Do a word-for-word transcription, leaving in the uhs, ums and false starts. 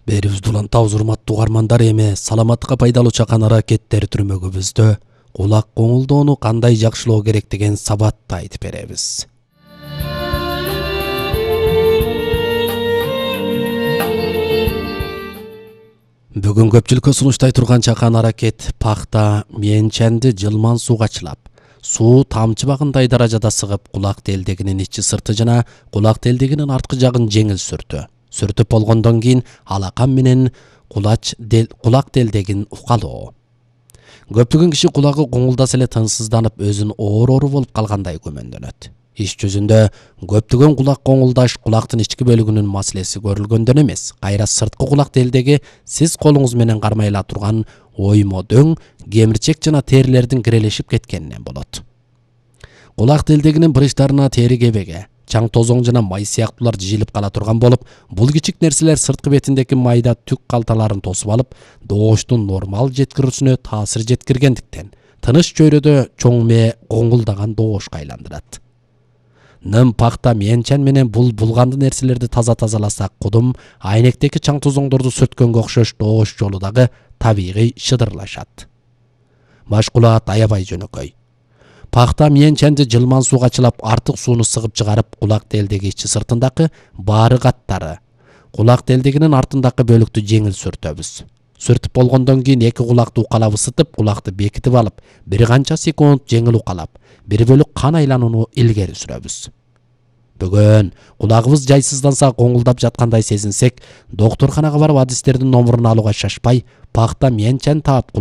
Берибизди улантабыз урматтуу угармандар. Эми саламатка пайдалуу чакан аракеттер түрмөгүбүздө кулак коңулдоону кандай жакшылоо керек деген сабатты айтып беребиз. Бүгүн көпчүлүккө сунуштай турган чакан аракет пахта менченди жылман сууга чылап, суу тамчыбагындай даражада сыгып, кулак делдегинин ичи сырты жана кулак делдегинин арткы жагын жеңил сүртү. Сүртүп болгондон кийин алакан менен кулач дел, кулак делдегин укалоо. Көптөгөн киши кулагы коңулдаса эле тынчсызданып, өзүн оору болуп калгандай күмөндөнөт. Иш жүзүндө көптөгөн кулак коңулдаш кулактын ички бөлүгүнүн маселеси көрүлгөндөн эмес, кайра сырткы кулак делдеги сиз колуңуз менен кармай ала турган оймо дөң, кемирчек жана терилердин кирелешип кеткенинен болот. Кулак делдегинин брыштарына тери кебеге, чаң тозоң жана май сыяктуулар жыйылып кала турган болуп, бул кичик нерселер сырткы бетиндеги майда түк калталарын тосуп алып, добуштун нормал жеткирүүсүнө таасир жеткиргендиктен тыныч чөйрөдө чоң мээ коңулдаган добушка айландырат. Ным пахта менчен менен бул булганды нерселерди таза тазаласак, кудум айнектеги чаң тозоңдорду сүрткөнгө окшош добуш жолу дагы табигый шыдырлашат. Машкулат аябай жөнөкөй. Пахта менченди жылман сууга чылап, артык сууну сыгып чыгарып, кулак делдеги ичи сыртындагы баары каттары, кулак делдегинин артындагы бөлүктү жеңил сүртөбүз. Сүртүп болгондон кийин эки кулакты укалап ысытып, кулакты бекитип алып, бир канча секунд жеңил укалап, бир бөлүк кан айланууну илгери сүрөбүз. Бүгүн кулагыбыз жайсызданса, коңулдап жаткандай сезинсек, доктурканага барып адистердин номурун алууга шашпай, пахта менчен таап,